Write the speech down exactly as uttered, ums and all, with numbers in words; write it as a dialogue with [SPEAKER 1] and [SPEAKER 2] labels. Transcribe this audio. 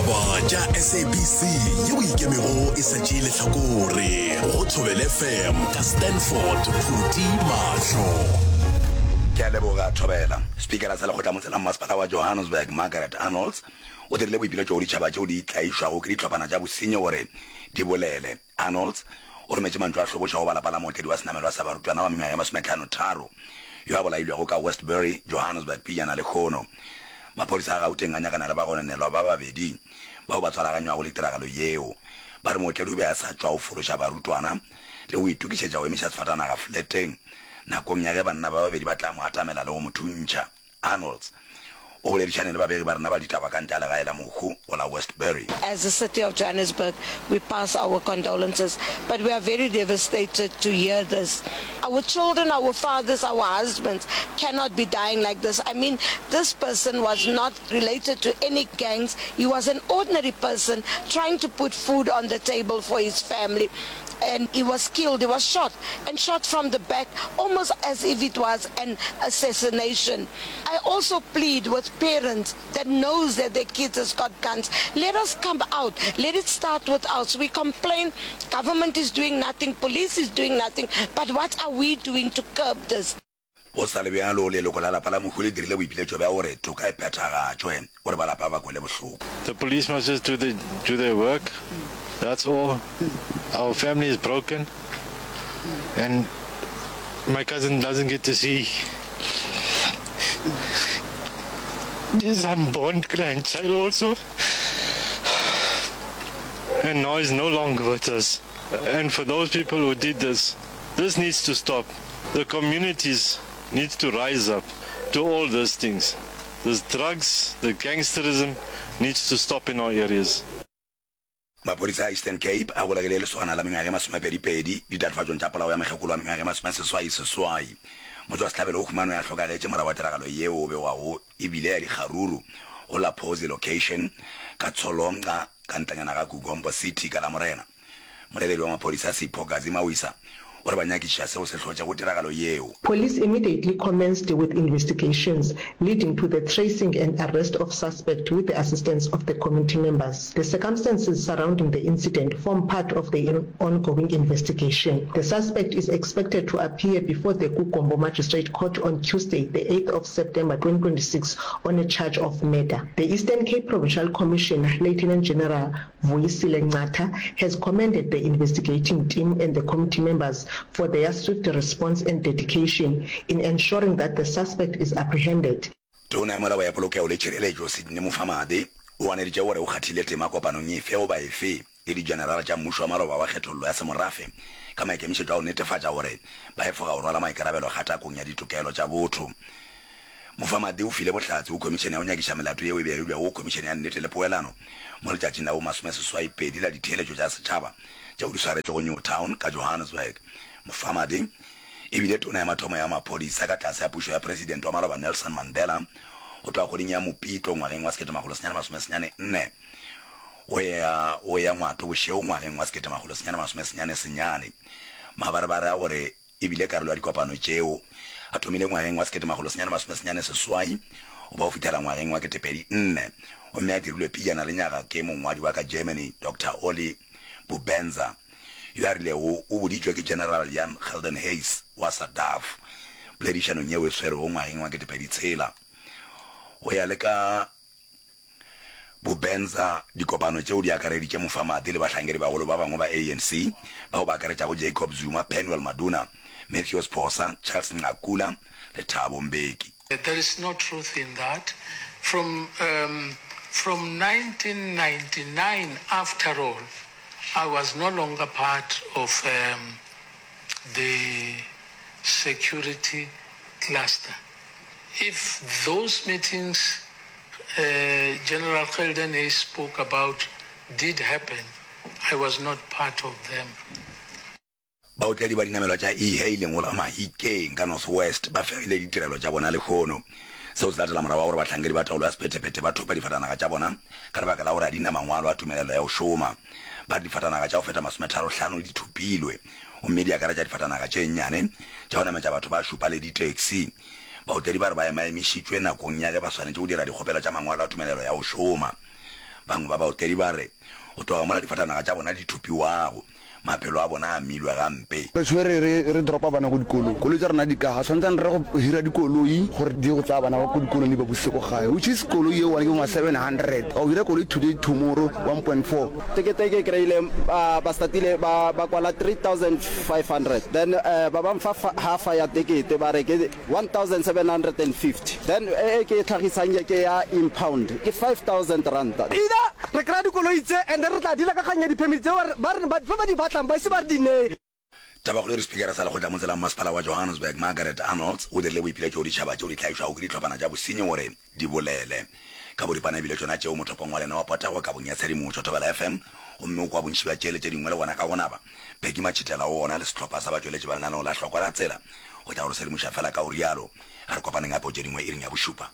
[SPEAKER 1] Ditaba tša S A B C yeo ikemego e sa tšee lehlakore go Thobela F M ka Stanford Phuti Mahlo.
[SPEAKER 2] Ke a leboga, Thobela. Spikara sa Lekgotlamotse la Mmasepala wa Johannesburg, Margaret Arnolds, o dirile boipiletšo go ditšhaba tšeo di tlaišwago ke dihlophana tša bosenyi gore di bolele. Arnolds o rometše mantšu a hloboša go ba lapa la mootledi wa senamelwa sa barutwana wa mengwaga ye masometlhano-tharo yo a bolailwego ka Westbury, Johannesburg pejana lehono. Maphodisa a Gauteng a nyakana le bagononelwa ba babedi bao ba tshwaraganywago le tiragalo yeo. Ba re mootledi o be a sa tšwa go fološa barutwana le go itokišetša go emiša sefatanaga fleteng nakong ya ge banna ba babedi ba tla mo atamela le go mo thuntšha. Arnolds o boledišane le babegi ba rena ba ditaba ka ntle ga legae la mohu go la Westbury.
[SPEAKER 3] As the city of Johannesburg, we pass our condolences, but we are very devastated to hear this. Our children, our fathers, our husbands cannot be dying like this. I mean, this person was not related to any gangs. He was an ordinary person trying to put food on the table for his family. And he was killed, he was shot, and shot from the back, almost as if it was an assassination. I also plead with parents that knows that their kids has got guns. Let us come out. Let it start with us. We complain, government is doing nothing, police is doing nothing, but what are we doing to curb this?
[SPEAKER 2] Go sa le bjalo, leloko la lapa la mohu le dirile boipiletšo bja gore toka e phethagatšwe gore ba lapa ba kwele bohloko.
[SPEAKER 4] The police must just do the do their work, that's all. Our family is broken and my cousin doesn't get to see his unborn grandchild also. And now he's no longer with us. And for those people who did this, this needs to stop. The communities need to rise up to all those things. This drugs, the gangsterism needs to stop in our areas.
[SPEAKER 2] Maphodisa a Eastern Cape a golegile lesogana la mengwaga e masomepedi-pedi ditatofatšong tša polao ya mokgekolo wa mengwaga e masomeseswai-seswai. Motšwasehlabelo o humanwe a hlokagetše morago ga tiragalo yeo o begwago e bile ya dikgaruru go la Phozi Location ka Tsholonqa ka ntlanyana ga Kugompo City ka Lamorena. Molebedi wa maphodisa Sipho Gazi Mawisa o re ba nyakišiša seo se hlotšego tiragalo yeo.
[SPEAKER 5] Police immediately commenced with investigations leading to the tracing and arrest of suspect with the assistance of the community members. The circumstances surrounding the incident form part of the ongoing investigation. The suspect is expected to appear before the KuGompo Magistrate Court on Tuesday, the eighth of September twenty twenty-six on a charge of murder. The Eastern Cape Provincial Commissioner, Lieutenant General Vuyisile Ncata, has commended the investigating team and the committee members for their swift response and dedication in ensuring that the suspect is apprehended.
[SPEAKER 2] Tona ya Molao ya Polokego le Tšhireletšo Sydney Mufamadi o ganeditše gore o kgathile tema kopanong efe goba efe le dijenerala tša mmušo wa maloba wa kgethollo ya semorafe ka maikemišetšo a go netefatša gore ba efoga go rwala maikarabelo kgatakong ya ditokelo tša botho. Mufamadi o file bohlatse go khomišene ya go nyakiša melato yeo e begilwego go Khomišene ya Nnete le Poelano mo letšatšing la bo masomeseswai-pedi la ditheeletšo tša setšhaba tšeo di swaretšwego Newtown ka Johannesburg. Mufamadi e bile tona ya mathomo ya maphodisa ka tlase ga pušo ya Presidente wa maloba Nelson Mandela go tloga kgweding ya Mopitlo ngwageng wa sekete makgolo senyane masome senyane nne go ya go ya Ngwato bošego ngwageng wa sekete makgolo senyane masome senyane senyane. Mabarebare a gore e bile karolo ya dikopano tšeo a thomile ngwageng wa sekete makgolo senyane masome senyane seswai go ba go fihlela ngwageng wa ketepedi nne gomme a dirilwe pejana lenyaga ke mongwadi wa ka Germany Doctor Olli Bubenzer yo a rilego o boditšwe ke General Jan Geldenhuys wa SADAF poledišanong yeo e swerwego ngwageng wa ketepedi tshela. Go ya le ka Bubenzer, dikopano tšeo di akareditše Mufamadi le bahlankedibagolo ba bangwe ba A N C bao ba akaretšago Jacob Zuma, Penuel Maduna, Mathews Phosa, Charles Nqakula le Thabo Mbeki.
[SPEAKER 6] There is no truth in that. From, um, from nineteen ninety-nine, after all, I was no longer part of um, the security cluster. If those meetings uh, General Geldenhuys spoke about did happen, I was not part of them.
[SPEAKER 2] Baotledi ba dinamelwa tša e-hailing go la Mahikeng ka North West ba fegile ditirelo tša bona lehono. Seo se latela morago ga gore bahlankedi ba taolo ya sephethephethe ba thope difatanaga tša bona ka lebaka la gore a di na mangwalo a tumelelo ya go šoma. Ba re difatanaga tša go feta masometharo-hlano di thopilwe gomme di akaretša difatanaga tše nnyane tša go nametša batho ba šupa le di-taxi. Baotledi ba re ba emaemišitšwe nakong ya ge ba swanetše go dira dikgopelo tša mangwalo a tumelelo ya go šoma. Bangwe ba baotledi ba re go tloga mola difatanaga tša bona di thopiwago, maphelo a bona a amilwe gampe.
[SPEAKER 7] Re tshwere re re dropa bana ko dikolong, koloi tša rena di ka, ga tshwantsane re go hira dikoloi gore di ye go tsaya bana ba ko dikolong di ba busetse ko gae, which is koloi ye one ke bo ma seven hundred, wa go hira koloi today tomorrow one point four.
[SPEAKER 8] Tekete e ke e kry-ile ba ba startile ba ba kwala three thousand five hundred then ba ba mfa half ya tekete ba re ke one thousand seven hundred and fifty then e ke e tlhagisang ye ke ya impound ke five thousand ranta.
[SPEAKER 9] Either re kry-a dikoloi tse and then re tla dealer ka kgang ya di-permit tse ba re ba ba di batlang ba ise ba re di neye.
[SPEAKER 2] Tabakgolo e re Sepikara sa Lekgotla Motse la Mmasepala wa Johannesburg Margaret Arnolds o dirile boipiletšo go ditšhaba tšeo di hlagišwago ke dihlophana tša bosenyi gore di bolele ka boripana ebile tšona tšeo mothopong wa lena wa potego kabong ya tshedimošo Thobela F M gomme o kwa bontši bja tše le tše dingwe le gona ka go naba Peggy Matšhitela o gona le sehlopha sa batšweletši ba lenaneo la Hlokwa la Tsela go tla go re sedimoša fela ka go rialo. A re kopaneng gape go tše dingwe iring ya bošupa.